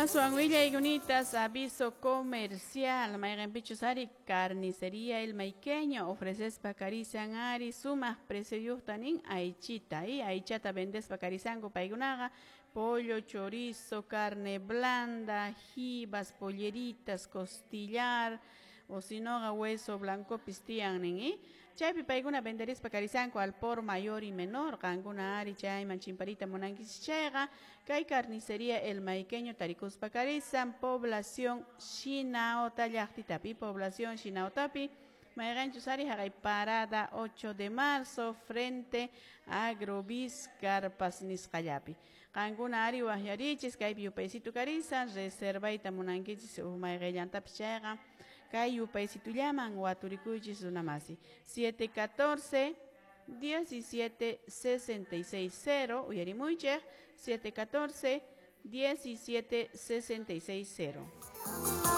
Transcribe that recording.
Aswan willaykunatas, aviso comercial, mayqinpichus ari carnicería El Maiqueño ofrecespa karisan ari sumaq precioyuqta nin aychita y aychata vendespa karisanku paykunaqa pollo, chorizo, carne blanda, jibas, polleritas, costillar o sinoqa hueso blancopis tiyan nin y chaypi paykuna venderispa karisanku al por mayor y menor. Qankuna ari chayman chimparita munankichis chayqa kay carnicería El Maiqueño tarikuspa karisan población Shinaota llaqtitapi, población Shinaotapi, mayqanchus ari haqay parada 8 de marzo frente a Agrobis Carpas nisqallapi. Qankuna ari waqyarichis, kaypi yupaysitu karisan, reservayta munankichis mayqillantapis chayqa kay yupaysitullaman waturikuychis, runamasi, 714 17 66 0. Uyarimuychik, 714 17 66 0.